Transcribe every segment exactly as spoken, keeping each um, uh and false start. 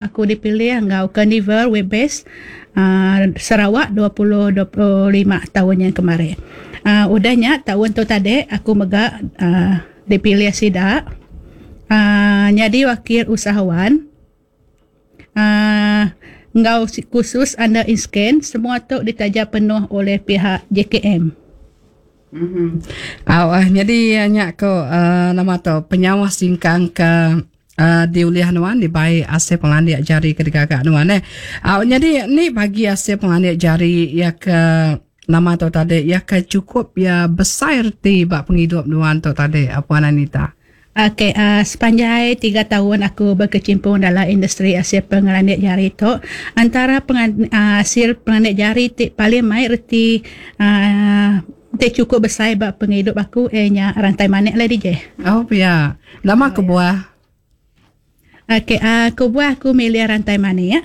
Aku dipilih enggau Carnival Web-based uh, Sarawak dua ribu dua puluh lima tahun yang kemarin. Uh, udahnya tahun tu tadi aku mega uh, dipilih sida uh, jadi wakil usahawan uh, enggau khusus under INSKEN, semua tu ditaja penuh oleh pihak J K M. Mm-hmm. Oh, jadi nyak ko uh, nama tu penyawa singkang ke Uh, diuliah nuan dibai hasil pengelandik jari ke digagak nuan eh. Uh, jadi ni bagi hasil pengelandik jari ya ke nama tu tadi ya ke cukup ya besar reti bak penghidup nuan tu tadi Puan Anita. Okey, uh, sepanjang tiga tahun aku berkecimpung dalam industri hasil pengelandik jari tu, antara pengan, uh, hasil pengelandik jari ti paling mai reti uh, ti cukup besar bak penghidup aku eh nya rantai manik lah D J. Oh ya. Lama ke buah. Okey, uh, aku buah aku milih rantai manik ya.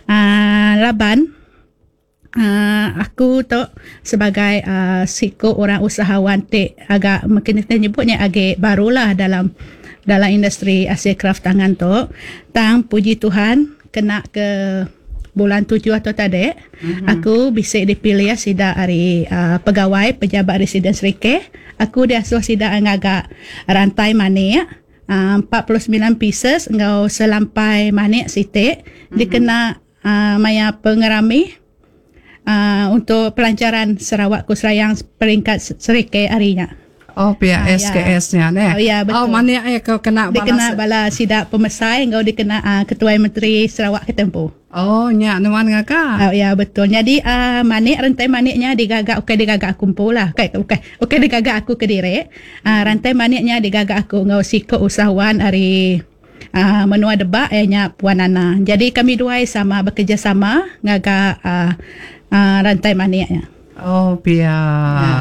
Uh, laban uh, aku tu sebagai uh, siku orang usahawan ti agak mungkin kita nyebutnya agak barulah dalam dalam industri hasil kraft tangan tu. Tang puji Tuhan kena ke bulan tujuh atau tadi, mm-hmm. aku bisa dipilih sida hari uh, pegawai pejabat residen Serike. Aku diasuh sida ngagak rantai manik. Uh, empat puluh sembilan pieces enggau selampai manik sitik mm-hmm. dikena uh, maya pengerami uh, untuk pelancaran Sarawak Kusrayang peringkat Serike harinya. Oh pihak uh, S K S-nya ne. Oh ya betul. Oh manik ya kau kena bala dikena bala sidak pemesai enggau dikena uh, Ketua Menteri Sarawak ketempu. Oh nya nuan ngaka. Oh ya betul. Jadi uh, manik rantai maniknya digagak okey digagak aku empu lah. Okey okey. Okey digagak aku ke direk. Uh, rantai maniknya digagak aku enggau siko usahawan ari uh, menua Debak ianya Puan Nana. Jadi kami dua sama bekerjasama ngagak uh, uh, rantai maniknya. Oh pia. Ya.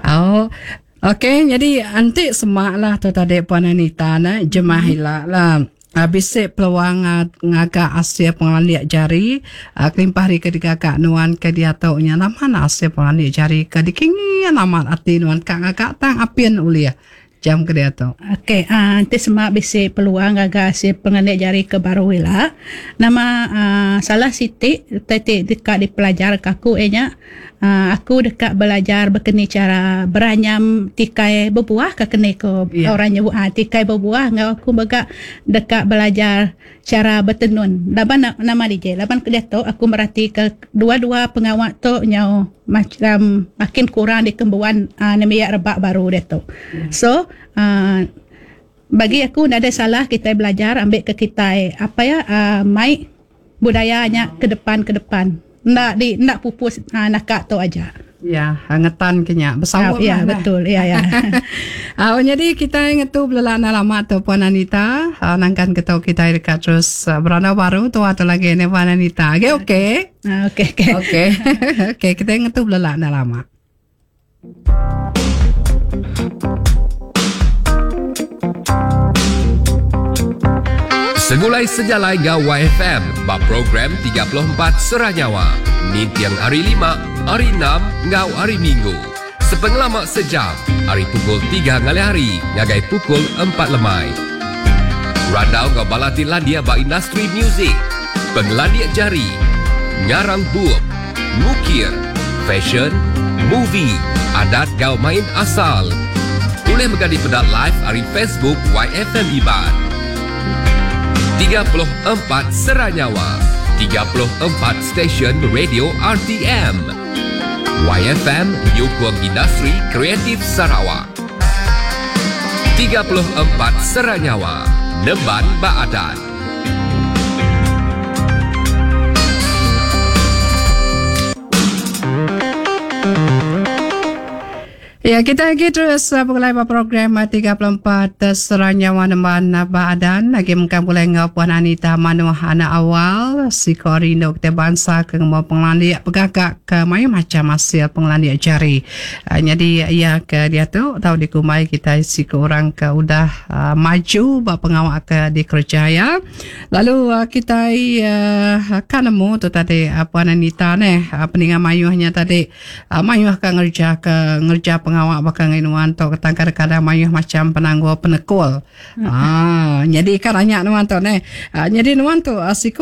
Oh. Okey, jadi antik semaklah tu tadi Puan Anita nah jemah hilak lah. Bisik peluang ngagak hasil pengelandik jari kelimpah hari ke digagak nuan ke diatoknya nama hasil pengelandik jari ke dikingi nama ati nuan kak ngagak tang apian uliah jam ke diatok. Okey, uh, nanti semak bisik peluang ngagak hasil pengelandik jari ke baru lah. Nama uh, salah sitik tetik dekat dipelajar kaku enya. Uh, aku dekat belajar berkeni cara beranyam tikai berbuah ke kene ko yeah. Orang nyebut ah tikai berbuah ngau aku begak dekat belajar cara bertenun. Laban nama D J, laban ke tu aku merhati ke dua-dua pengawak tu nyau macam makin kurang di kembuan uh, nemiak rebak baru dia tu. Yeah. So uh, bagi aku tak ada salah kita belajar ambil ke kita apa ya uh, mai budayanya ke depan ke depan. Nak di nak pupus uh, nakak tu aja. Ya, hangetan kenya bersawap. Ya, betul. Ya, ya. Uh, jadi kita ingat tu belala lama tu Puan Anita, uh, nangkan ketau kita dekat terus uh, beranda baru tu atau lagi ni Puan Anita. Okey, okey. Okey, okey. Okey. Okey, kita ingat tu belala lama. Segulai sejalai ngau Y F M bab program tiga puluh empat Seranyawa. Nintiang hari lima, hari enam, ngau hari Minggu. Sepengelamak sejam, hari pukul tiga ngalih hari, ngagai pukul empat lemai. Randau ngau balati landia ba industri muzik, pengelandia jari, ngarang bup, ngukir, fashion, movie, adat gau main asal. Boleh megadi pedak live hari Facebook Y F M Iban. tiga puluh empat Seranyawa, tiga puluh empat stesen radio R T M. Y F M Nyukung Industri Kreatif Sarawak. tiga puluh empat Seranyawa, Nemban Baadan. Ya, kita lagi terus uh, pengelai program uh, tiga puluh empat uh, Seranyawa Nemban Baadan. Lagi mengkam boleh ngau Puan Anita Manuah anak awal si Korino kita bangsa ke ngemu pengelandik pegagak ke mayu macam hasil pengelandik jari. Uh, jadi ya ke dia tu tahu di kumai kita si orang ke udah uh, maju bab pengawak ke di kerja ya. Lalu uh, kita uh, kan nemu tu tadi uh, Puan Anita neh uh, peningan mayuhnya tadi uh, mayuh ke ngerja ke ngerja pengawa baka ngai nuan tu ketang kadang-kadang mayuh macam penanggul penekul. Ah, jadi kan nanya nuan tu ne. Ah, jadi nuan tu ah, siku